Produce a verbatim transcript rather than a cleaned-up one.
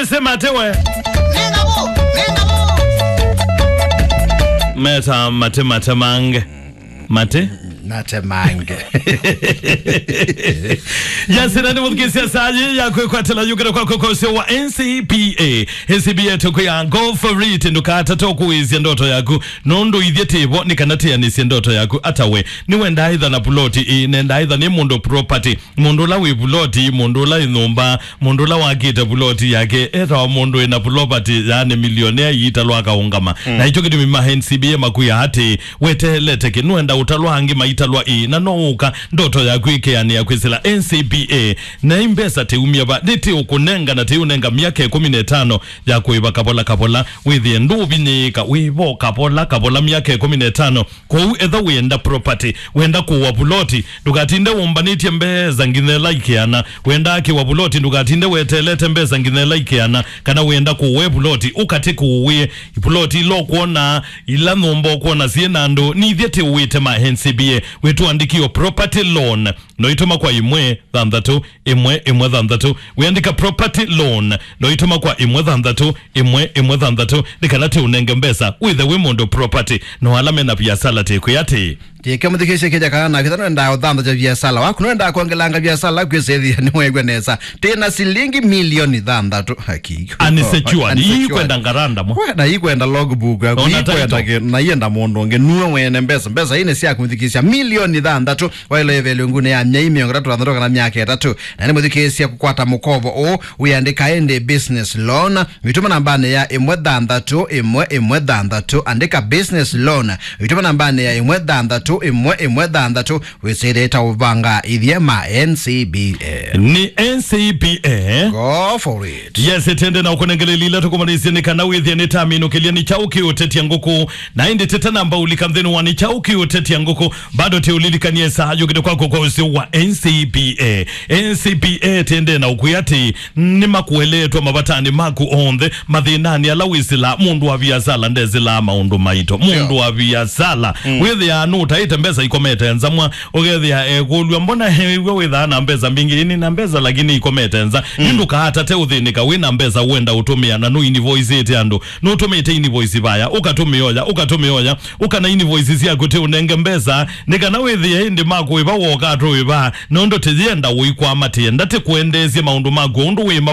Sema ate we. Meta mate mate mange. Mate? Nate mange. Yasina nĩ mũthukĩsya saa yĩ ya kwĩkwatĩla yũkĩra kwa kwa ũsĩ wa N C B A. N C B A tũkwĩa go for it, ndũkatate kũĩsya ndoto yaku. Nũndũ ithyĩ tĩvo nĩ kana tĩanĩsye ndoto yaku. Ata we, nĩwendaa ĩtha na puloti ĩ, nendaa ĩtha nĩ mũndũ property. Mũndũ ũla wĩ vuloti, mũndũ ũla wĩ nyũmba, mũndũ ũla wakĩte vuloti yake, etawa mũndũ wĩ na vulopati, yaani milionea iitalwa akaũngama. Mm. Na ĩkyo kĩtumi ma N C B A makwĩa atĩ, weteelete kĩ, nũenda ũtalwa angĩ maitalwa ĩĩ, na no ũka, ndoto yaku ĩkeanĩa kwĩsĩla N C B A. Na ĩ mbesa tĩumya va, nĩ tĩũkũnenga na tĩũnenga myaka ĩkũmi na ĩtano ya kũĩva kavola kavola, wĩthĩe ndũvinyĩĩka, wĩvo kavola kavola myaka ĩkũmi na ĩtano. Kwoou, etha wĩenda property, wenda kũwa vuloti, ndũkatinde wũmbanĩtye mbesa nginya ĩla ikeana. Wenda akĩwa vuloti, ndũkatinde weteelete mbesa nginya ĩla ikeana, kana wĩenda kũwe vuloti, ũkatĩ kũwĩe vuloti ila ũkwona, ila nyũmba ũkwona syĩ na andũ, nithyĩ tĩũwĩte ma N C B A, wĩtũandĩkĩo property loan. No itũma kwa ĩmwe thanthatũ, ĩmwe, ĩmwe thanthatũ. Wĩandĩka property loan, no itũma kwa ĩmwe thanthatũ, ĩmwe, ĩmwe thanthatũ, nĩ kana tĩũnenge mbesa, wĩthe wĩ mũndũ property, no ala mena viasala tĩkwĩ atĩ. Yĩke mũthikĩsye kĩja kana na kĩtha nwendaa ũthanthatya viasala waku, nwendaa kwongelanga viasala kwĩsĩthĩa nĩweew'a nesa. Tĩ na silingi milioni thanthatũ. Haki. Unsecured. Unsecured. Ii kwenda ngaranda mo. Kwe, na ii kwenda logbook yaku, ii kwenda kĩ-, na ienda mũndũ ũngĩ, nuwe mwene mbesa. Mbesa ii nĩ syaku mũthikĩsya milioni thanthatũ. Waĩle ĩvelo ngunĩ ya myei mĩongo ĩtatũ na thanthatũ kana myaka ĩtatũ. Na nĩ mũthikĩĩsya kũkwata mũkovo ũũ, wĩandĩka ĩndĩ business loan, wĩtũma nambanĩ ya ĩmwe thanthatũ ĩmwe ĩmwe thanthatũ, andĩka business loan, wĩtũma nambanĩ ya ĩmwe thanthatũ ĩmwe ĩmwe thanthatũ, wĩsĩlĩte ũvanga ithyĩ ma N C B A. Nĩ N C B A. Go for it. Yes, ĩtende na ũkũnengeleli ila tũkũmanĩisye nĩ kana wĩthĩe nĩ taminũkĩlya nĩ kyaũ kĩũtetya ngũkũ. Na ĩndĩ tete namba ũlika nthĩnĩ wa nĩ kyaũ kĩũtetya ngũkũ. Bado tĩũlilikanie saa yũkĩte kwako kwa ũsĩ wa N C B A. N C B A tĩendee na ũkwĩa atĩ nĩmakũeleetwa mavatani maku onthe, mathĩnanĩ ala wĩsĩlaa. Mũndũ wa viasala ndesĩlaa maũndũ maito. Mũndũ wa viasala wĩthĩaa nũtaĩte mbesa ikomete nza mwa, ũkethĩa ekũlw'a, "Mbona he wĩw'a wĩthaa na mbesa mbingĩ?" Ĩnĩ na mbesa, lakini ikomete nza. Yu ndũkaatate ũthĩnĩka wĩ na mbesa wenda ũtũmĩa na nũ invoice ĩte andũ. Nũtũmĩte invoice vaya, ũkatũmĩoya, ũkatũmĩoya, ũka na invoice syaku tĩ ũnenge mbesa, nĩ kana wĩthĩe ĩndĩ makũĩva woka atũĩva, nũndũ tĩyenda ũikwama, tĩenda tĩkwendeesye maũndũ maku ũndũ wĩ mava.